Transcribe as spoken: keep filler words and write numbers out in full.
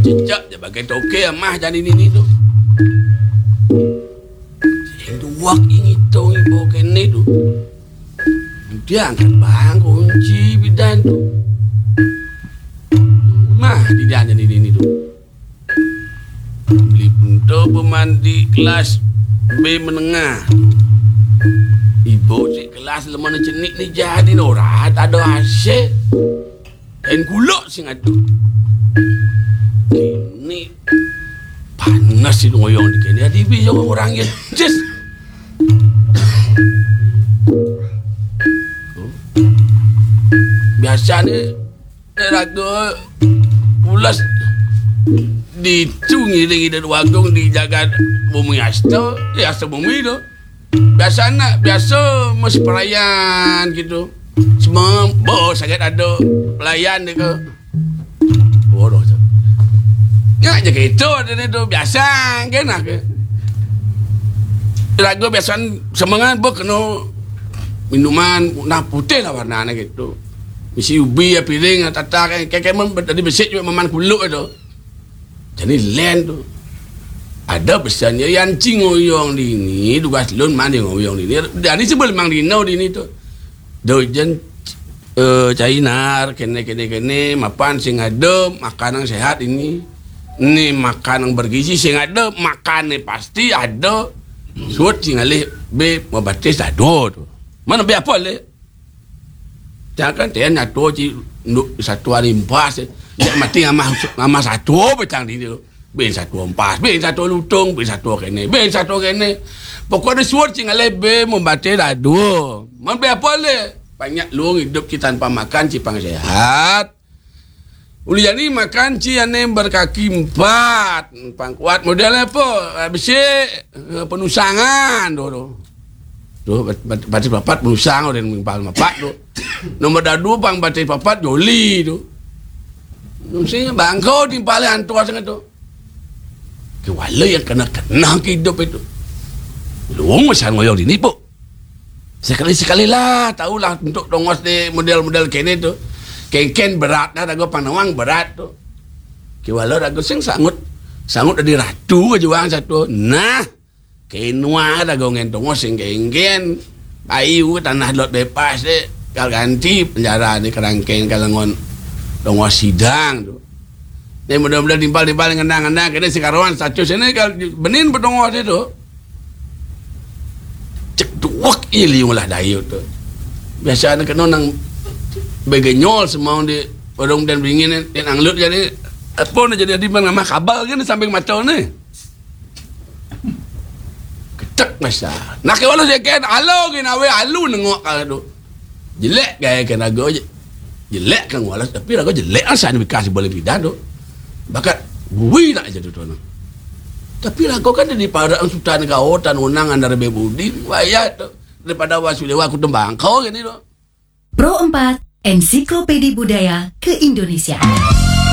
Cecak je bagai toke amah jani nini tu. Sing duwak ingitung ibu kene tu. Dia angkat bang kunci bidan tu. Mah di dia jani nini tu. Beli pun tu pemandi kelas B menengah. Ibu cik kelas lemah ni cenik ni jadi norat ada asyik. Dan kuluk sing adu. Ini panas si ngoyong di kene. Adi bisa orang ya. Cis. Biasa ni raga pulas ditu ngiring ida wagung di jagat bumi asta, ya asta bumi tu. Biasa nak, biasa mesti pelayan gitu. Semua bos sangat ada pelayan dia ke. Bodoh tu. Nya je gitu ada ni tu biasa kan nak ke. Lagu biasa semangat bos kena minuman nah putih lah warna ni gitu. Mesti ubi ya piring ya tata kan. Kayak kayak tadi besik juga maman kuluk tu. Jadi len tu. Ada pesan ya yang cing oyong di ni, tugas lun mana yang oyong di ni. Dari sebelum mang dino di ni tu. Dojen eh, cainar kene kene kene mapan sing ada makanan sehat ini. Ni makanan bergizi sing ada makan ni pasti ada. Suat sing alih be mabatis ada tu. Mana be apa le? Jangan tian satu ci satu hari empas. Cak mati ngamah ngamah satu betang di tu. Bin satu empas, bin satu lutung, bin satu kene, bin satu kene. Pokoknya suat sing alih be membaca dah dua. Mau be apa le? Banyak luang hidup ci tanpa makan ci pang sehat. Uli jani makan ci ane berkaki empat, pang kuat model apa? Besi eh, penusangan tu tu. Tu bat- bat- batis papat penusang dan mimpal mapat tu. Nomor dadu pang batis papat joli tu. Mesti bangkau timpal antua sangat tu. Kewala yang kena kena hidup itu. Luang masa ngoyong dini pun. Sekali-sekali lah tahulah untuk tongos di model-model kene tu. Kengken berat dah dago panawang berat tu. Kiwala dago sing sangut sangut dari ratu ke juang satu. Nah, kenua dago ngen tongos sing kengken. Bayu tanah lot bebas de. Kal ganti penjara ni kerangkeng kalangon tongos sidang tu. Ni mudah-mudahan timpal-timpal ngendang-ngendang kene sing karuan status ini kal benin petongos itu. Cek duwek iya liung lah dayut tu. Biasa anak kena nang begenyol semau di orang dan bingin ni nang lut jadi apa nak jadi adi bang nama kabal kan samping mata ni. Ketek masa. Nak ke walau sekian alo gin awe alu nengok kala tu. Jelek gaya ke raga je. Jelek kan walau tapi raga jelek asal ni bekas boleh bidan tu. Bakat bui nak je tu tu. Tapi lagu kan di para sultan kau tan unang andar bebudi wayat tu. Daripada wasu lewa aku tembang kau gini tu. Pro empat, Ensiklopedi Budaya Keindonesiaan.